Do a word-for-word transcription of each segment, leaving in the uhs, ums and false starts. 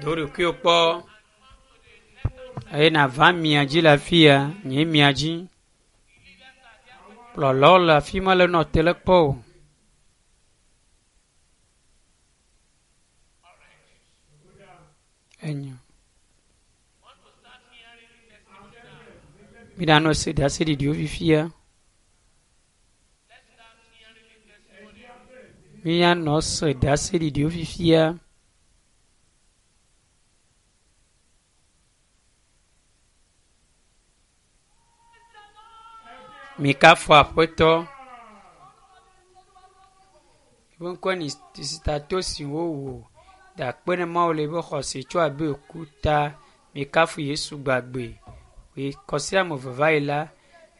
Do ɖokuiwò kpɔ eye nava mia dzi le afi ya nye mia dzi. Kplɔlawo le afi ma le nɔ te le kpɔ o. Enyo. Miɖanɔ se ɖaseɖiɖiwo fifia. Mianɔ se ɖaseɖiɖiwo fifia. Mikafu aƒetɔ. Eƒe ŋkɔe nye sitato si wowɔ da akpe ne Mawu le eƒe xɔse tso abe ku ta. Mikafu Yesu gbagbe. Kɔsi ame eve va yi la,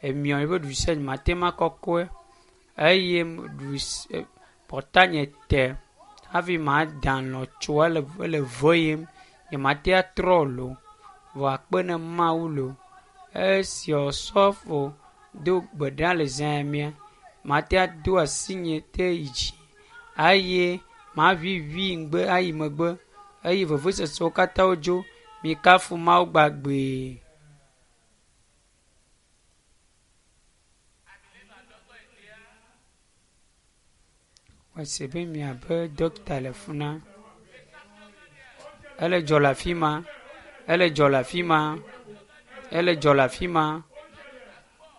emiɔ eƒe ɖusia nye mate ŋu akɔkɔe eye ɖusi pɔtanye te hafi ma da alɔ tso ele ele veyem. Nye mate atrɔ lo. Vɔ akpe ne Mawu lo. Esi osɔfo do gbe ɖa le zã ya mea, mate ado asi nye te yi dzi eye maʋiʋi ŋgbe ayi megbe eye vevesesewo katã wodzo. Mikafu Mawu gbagbee. Mese be miabe dɔkita le fi na. Ele dzɔ le afi ma. Ele dzɔ le afi ma. Ele dzɔ le afi ma.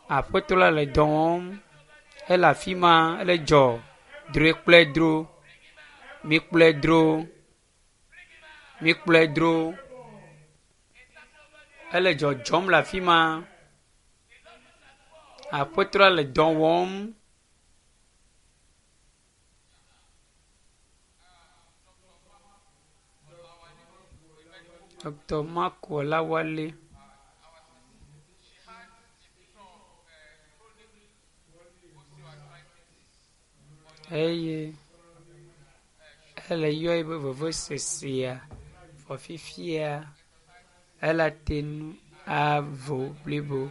Aƒetɔ la le dɔ wɔm. Ele afi ma. Ele dzɔ. Droe kplɔe dro. Mikplɔe dro. Mikplɔe dro. Ele dzɔdzɔm le afi ma. Aƒetɔ la le dɔ wɔm. Dr. Mark Olawale. Eye ele yɔ eƒe vevesesea vɔ fifia ele te ŋu avo blibo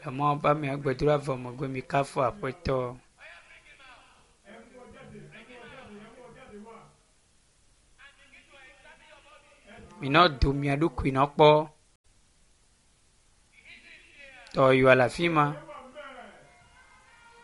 le Mawu ƒe amea gbedoɖa vɔ megbe mikafu aƒetɔ. Minɔ do mia ɖokui nɔ kpɔ. Dɔyɔa le afi ma.